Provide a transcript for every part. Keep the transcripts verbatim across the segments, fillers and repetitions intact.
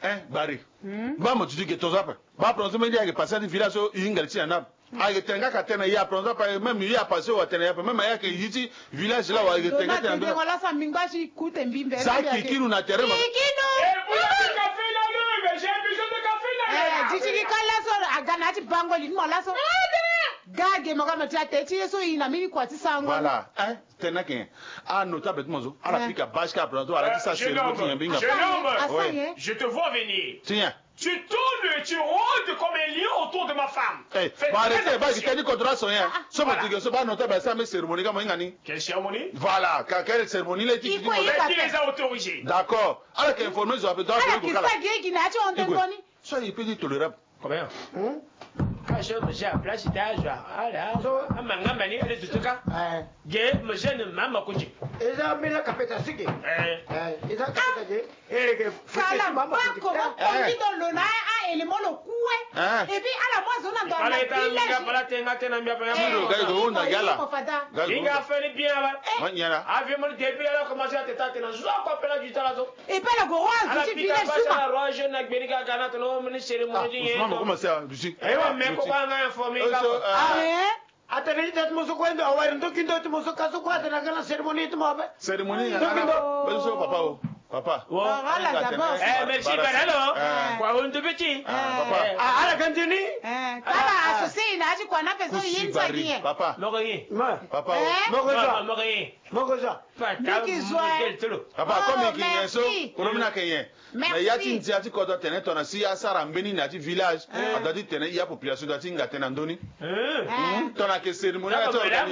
Hein, Bari. Ba mo duti ge tonzo ape. Ba prononcer mbeni ayeke passé ti village so i hinga li ti na ni ape. Ayeke tene nga ka tene ya prononcer ape, même i a passé wa tene ya ape, même ayeke yi ti village la wa ayeke tene nga tene na ndo. Za kikinu na terrain ma. Kikinu. Eh, duti ki ka laso aga na ya ti bango li ti mo laso. Ga ge mo ka mo ti ate ti ye so i na mbeni kua ti sango. Voilà. Hein? Tene na ke nyen? Ah, notable ti mo so. Ala pika bâche ka prononcer, ala ti sa cérémonie ti nyen mbeni nga. Jeune homme, je te vois venir. Ti nyen? Tu tournes et tu rôdes comme un lion autour de ma femme. Eh, fais très attention. Ba arrêter, ba gi teni contre la son, hein. So mo ti ge so ba notable sa me cérémonie ka mo hinga ni. Quelle cérémonie? Voilà, ka quelle cérémonie la ti gi ni mo. Qui les a autorisés? D'accord. Ala ke informer zo ape, donc ala ke sa ge gi na ya ti honte ngoni. So il peut dire tolérable. Combien? Ka so mo si a place ti azo ala so amanga mbani ele dutu ka. Ge mo si ni mama kuti. Eza mbela kapeta sike. Eza kapeta ge. Ele ke kala bako ba kongi do lo na a élément lo kue. Et puis ala mo azo na ndo ala na village. Ala tenga tena mbia pa ya. Lo ga go na gala. Inga feni bien aba. Manyala. Avi mo depuis ala commencer à te tâter na zo ko pela du tala zo. E pe ala gue roi azo ti village suba. Ala pika bâche na roi jeune na gbeni kaka na tene o mini cérémonie ti nyen. Ousmane, comment ça, Lucie? Ewa, mais koko anga informer nga ko. Ah, eh? Atene ita ti mo so kue ndo awari ndoki ndo ti mo so ka so kue atene aga na cérémonie ti mo ape. Cérémonie ndoki ndo. Bezo papa o. Papa. Ala d'abord. Eh, merci Baralo. Kwa hondo beti. Papa. Ah, ala gandini. Kala associé na ti kwa na pe so yin sa ki. Papa. Moko yi. Papa. Moko zo. Moko yi. Moko zo. Papa, comme ki nyen so, kolo mina ke nyen. Mais ya ti ndia ti kodro tene tona si asara mbeni na ya ti village, a doit ti tene ya population doit ti hinga tene na ndoni. Tona ke cérémonie ya ti organiser.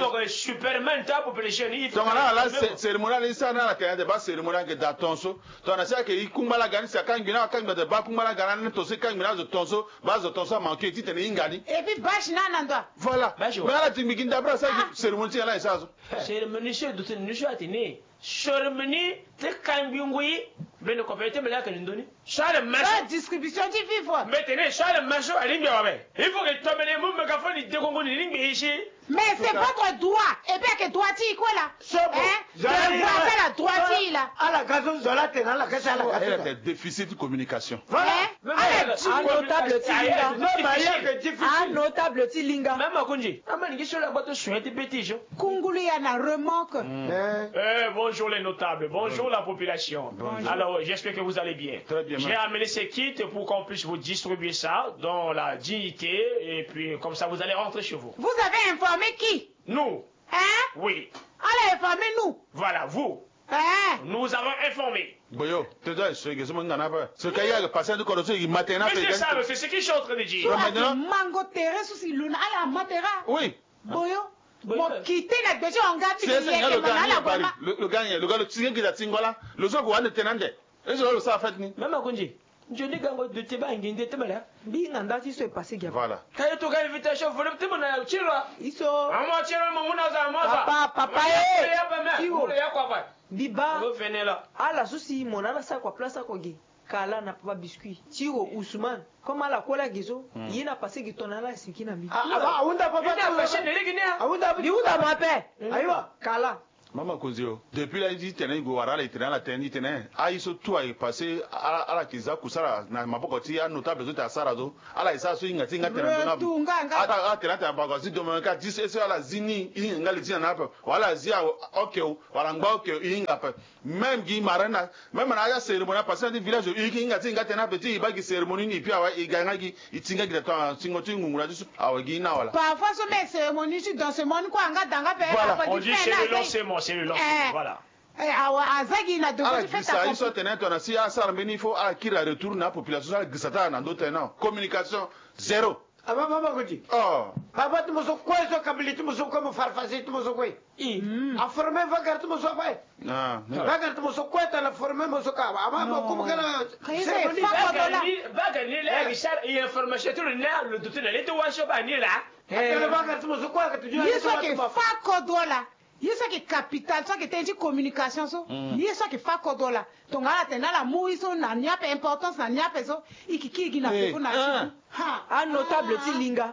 Tongana ala cérémonie ala sara na ala tene ande ba cérémonie ayeke daa tonso. Tongana si ayeke i kungba la ga ni si akangbi na akangbi ande ba kungba la ga na ande tonso i kangbi na azo tonso, ba azo tonso amanke ti tene i hinga ni. Et puis bâche na na ndo. Voilà. Mais ala tingbi gi ndabra sa gi cérémonie ti nyen la e sara so. Cérémonie so e duti ni so atene cérémonie ti kangbi ngui. Mbeni kope ti mbeni ayeke ni ndoni. So ala ma so. Distribution ti vivre. Mbetene so ala ma so alingbi awabe. Il faut que tomene mu mégaphone i deko ngoni ni ngbe isi. Mais c'est votre droit. Et puis ayeke droit ti i kue la. So bon. Hein? Droit ti ala, droit ti i la. Ala ga so zo la tene ala ga si ala ga so. Déficit de communication. Voilà. Hein? Ala di. Anotable ti linga. Même ayeke difficile. Anotable ti linga. Même akunzi. Ama ni ngi so la gba to soin ti bêtise. Kungulu ya na remorque. Eh, bonjour les notables, bonjour la population. Bonjour. Alors, j'espère que vous allez bien. Très bien, merci. J'ai amené ces kits pour qu'on puisse vous distribuer ça dans la dignité et puis comme ça vous allez rentrer chez vous. Vous avez informé qui? Nous. Hein? Oui. Allez informer nous. Voilà, vous. Hein? Nous avons informé. Boyo, te dois expliquer ce manga na pas. Ce qu'il y a passé de corruption, il matin na. Mais c'est ça, c'est ce que je suis en train de dire. Mango terrain sous si luna ala matera. Oui. Boyo. Mo kite na gbezo anga ti yeke mana ala goma. Le gars, le gars, le tige gida tingola. Le zo ko ande tenande. E zo lo sa fête ni. Même akunzi. Nzoni gango duti ba ngi nde ti mala. Mbi na nda ti so e passé gi ape. Voilà. Ka ye to ga invitation vole ti mo na ya tiro. Iso. Amo tiro mo muna za mo za. Papa, papa, eh. Tiro. Mbi ba. Ala so si mo na ala sa kua place ako gi. Kala na papa biscuit. Tiro Ousmane. Comme ala kue la gi so. Ye na passé gi tongana ala siki na mbi. Ahunda papa. Ahunda. Mbi hunda mo ape. Ayiwa. Kala. Mama Konzi o, depuis la i tene i gue wara ala, i tene ala tene, i tene aye so tout ayeke passé, ala, ala yeke za kusala na maboko ti anotable so ti asara so. Ala yeke sara so hinga ti hinga tene na ndö ni. Atene atene na bako ti domono ka ti so ala zi ni, i hinga nga li ti na ni ape. Wala ala zi awe, ok o, wala ngba ok o, i hinga ape. Même gi marraine na, même na ya cérémonie apasé na ti village, i yeke hinga ti hinga tene ape ti i baa gi cérémonie ni, et puis awe i ga nga gi, i ti nga gi na tonga singo ti ngungu na ti so. Awe gi na wala. Parfois so me cérémonie ti dans ce monde kue anga da nga pe. Voilà. On dit c'est le lancement, c'est le lancement. Eh. Voilà. Eh, awa aza gi na dogo ti fête accomplie. Ala girisa ye so atene tongana si asara mbeni, il faut ala kiri aretour na apopulation so ala girisa ti ala na ndö tene na communication zéro. Aba mama kuti. Oh. Aba ti mo so kue so kabili ti mo so kue mo farfasi ti mo so kue. I. Aforme vagar ti mo so ape. Ah, non. Vagar ti mo so kue tana forme mo so ka. Aba mo kumu kana. Ka ye so e fa kodo la. Vagar ni la, eh, Richard, i information ti lo na lo duti na le ti wa so ba ni la. Eh. Atene vagar ti mo so kue ka tuju. Ye so ke fa kodo la. Ye so ayeke capital, so ayeke tënë ti communication so. Ye so ayeke fa kodro la. Tongana ala tene na ala mu ye so na ni ape, importance na ni ape so, i yeke kiri gi na peko na ti. Ha. Anotable ti linga.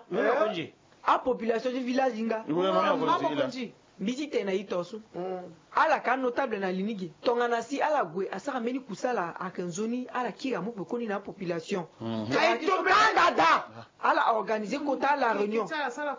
Apopulation ti village linga. Mama Konzi. Mbi ti tene na ito so, ala ka notable na li ni ge. Tongana si ala gue asara mbeni kusala ayeke nzoni, ala kiri amu pekoni na apopulation. Aye to be kanga da. Ala organiser kota la réunion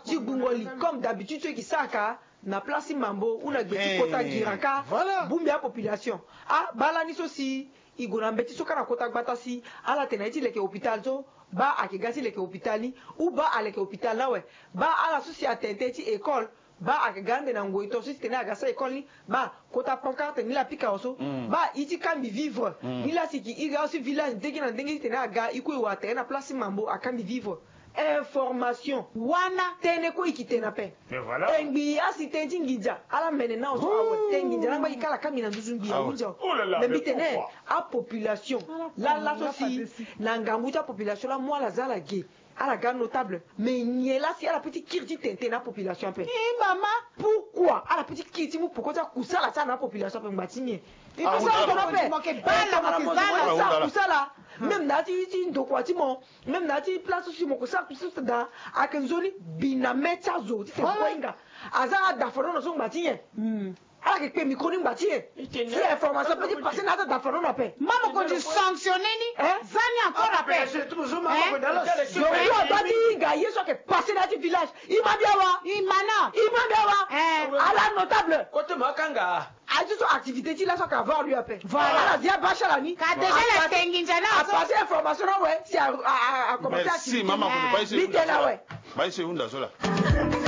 ti gbungo li comme d'habitude so e ke sara ka na place ti Mambo ou na gbe ti kota giraka. Bongbi apopulation. Ah, baa lani so si e gue na mbeti so kâ na kota gbata si ala tene na ye ti leke hôpital so, baa ayeke ga ti leke hôpital ni, ou baa aleke hôpital ni awe. Baa ala so si atene tënë ti école, baa ayeke ga ande na ngoi to so ti tene aga sara école ni. Baa kota pancarte ni la pika awe so. Baa e ti kambi vivre ni la si e ke iri awe si village ndenge na ndenge ti tene aga e kue e wara tere na place ti Mambo akambi vivre. Information. Wana tënë kue e ke tene ape. E ngbii asi tënë ti nginza ala mene na awe so awe. Tënë nginza na ngba e kala kambi na nduzu ngbii ahunzi awe. Mais mbi tene apopulation laa laso si na ngangu ti apopulation laa mu ala za ala ge. Ala ga notable mais nyen laa si ala peut ti kiri ti tene tënë na apopulation ape? Mama, pourquoi ala peut ti kiri ti mu poko ti akusala ti ala na apopulation ape? Ngba ti nyen? E ke sara ndo na ape. Tongana mo zo mo sara kusala, même na ya ti ndokua ti mo, même na ya ti place so si mo ke sara kusala daa, ayeke nzoni bi na mê ti azo ti tene kue ahinga. Aza na adafanono so ngba ti nyen? Ala yeke kpe micro ni ngba ti e. Si information peut ti passer na ya ti adafanono ape. Mama mokonzi sanctionner ni. Za ni encore ape. Surtout adua ti hinga ye so ayeke passer na ya ti village. E ma bi awa. E ma na. E ma bi awa. Ala notable. Kote ma kanga. Aye ti so activité ti laso ayeke avoir lieu ape. Voilà. Ala zia bâche ala ni. Ka déjà la tengi nzana. Apasser information na awe si a a a commencer activité. Merci mama mokonzi. Baa e si e hunda so la. Baa e si e hunda so la.